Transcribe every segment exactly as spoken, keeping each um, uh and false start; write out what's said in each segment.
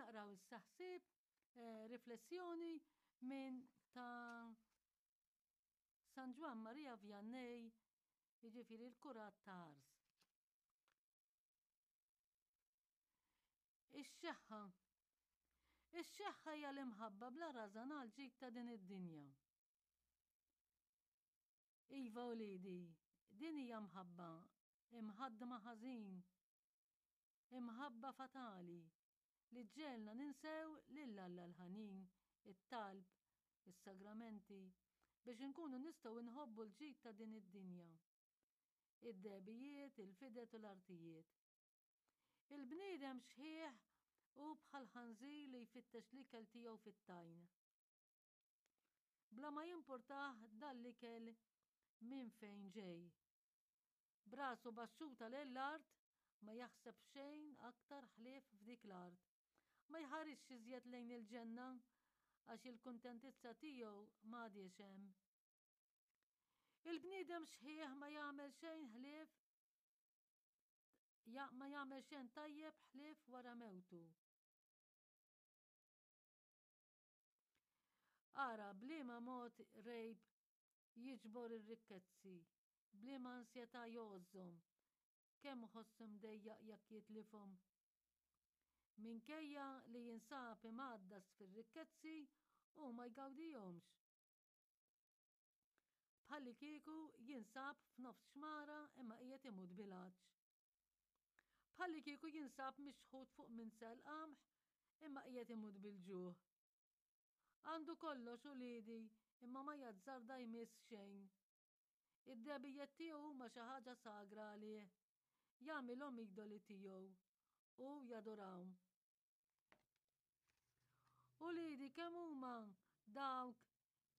Naqraw issa ħsieb, eh, riflessjoni minn ta' San Ġwann Maria Vianney, jiġifieri l-kurat ta' Ars. Ix-xeħħa. Ix-xeħħa hija l-imħabba bla rażan għal ġid ta' din id-dinja. Iva uliedi, din hija mħabba imħaddma ħażin, imħabba fatali li ġġegħelna ninsew lil Alla l-ħanin, it-talb, is-sagramenti, biex inkunu nistgħu nħobbu l-ġid ta' din id-dinja. Id-dehbijiet, il-fidet u l-artijiet. Il-bniedem xħiħ hu bħal ħanżir li jfittex l-ikel tiegħu fit-tajn. Bla ma jimpurtah dan l-ikel minn fejn ġej. B'rasu baxxuta lejn l-art ma jaħseb f'xejn aktar ħlief f'dik l-art. Ma jħarisx iżjed lejn il-ġenna għax il-kuntentizza tiegħu m'għadhiex hemm. Il-bniedem xħiħ ma jagħmel xejn ħlief ja, ma jagħmel xejn tajjeb ħlief wara mewtu. Ara b'liema mod rejb jiġbor ir-rikkezzi, b'liema ansjetà jgħożżhom, kemm iħossu mdejjaq jekk jitlifhom. Minkejja li jinsab imgħaddas fir-rikkezzi, hu ma jgawdihomx. Bħallikieku jinsab f'nofs xmara imma qiegħed imut bil-għatx. Bħallikieku jinsab mixħut fuq minsel qamħ imma qiegħed imut bil-ġuħ. Għandu kollox uliedi imma ma jazzarda jmiss xejn. Id-dehbijiet tiegħu huma xi ħaġa sagra għalih. Jagħmilhom idoli tiegħu u jadurahom. Uliedi kemm huma dawk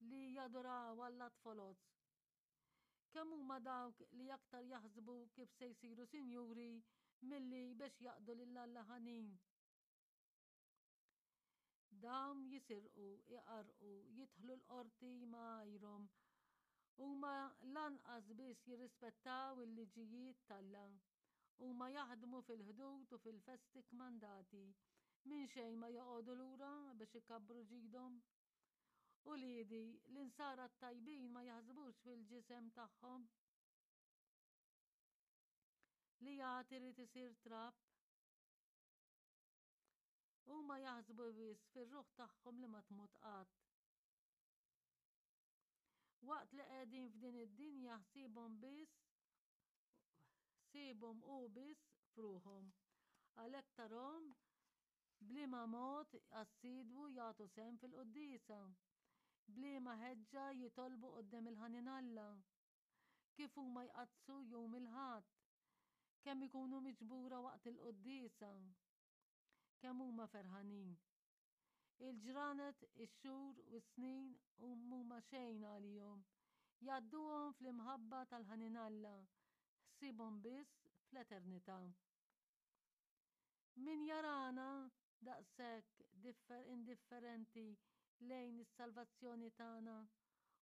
li jaduraw allat foloz? Kemm huma dawk li aktar jaħsbu kif se jsiru sinjuri milli biex jaqdu lil Alla ħanin? Dawn jisirqu, iqarrqu, jidħlu l-qorti ma' għajrhom. Huma lanqas biss jirrispettaw il-liġijiet t'Alla. Huma jaħdmu fil-ħdud u fil-festi kmandati. Minn xejn ma joqogħdu lura biex ikabbru ġidhom. Uliedi, l-insara t-tajbin ma jaħsbux fil-ġisem tagħhom. Li jagħti irid isir trab. Huma jaħsbu biss fir-ruħ tagħhom li ma tmut qatt. Waqt li qegħdin f'din id-dinja ħsiebhom biss ħsiebhom hu biss f'ruħhom. Għalhekk tarhom b'liema mod assidwu jagħtu sehem fil-quddiesa, b'liema ħeġġa jitolbu quddiem il-ħanin Alla, kif huma jqaddsu jum il-Ħadd, kemm ikunu miġbura waqt il-quddiesa. Kemm huma ferħanin! Il-ġranet, ix-xhur u s-snin m'huma xejn għalihom. Jgħadduhom fl-imħabba tal-ħanin Alla, ħsiebhom biss fl-eternità. Min jarana daqshekk indifferenti lejn is-salvazzjoni tagħna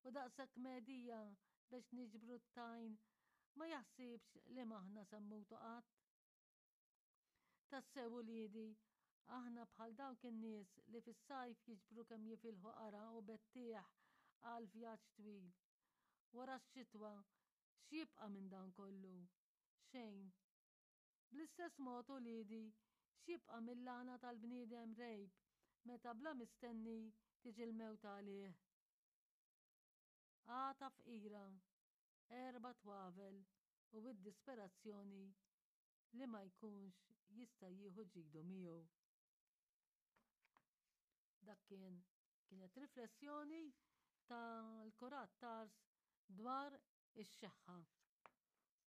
u daqshekk medija biex niġbru t-tajn ma jaħsibx li m'aħna se mmutu qatt? Tassew uliedi, aħna bħal dawk in-nies li fis-sajf jiġbru kemm jifilħu qara' u bettieħ għal vjaġġ twil. Wara x-xitwa, x'jibqa' minn dan kollu? Xejn. Bl-istess mod uliedi, x'jibqa' mill-għana tal-bniedem rgħib meta bla mistenni tiġi l-mewt għalih? Għata fqira, erba' twavel u d-disperazzjoni li ma jkunx jista' jieħu ġidu miegħu. Dak kien kienet riflessjoni tal-Kurat Tars dwar ix-xeħħa.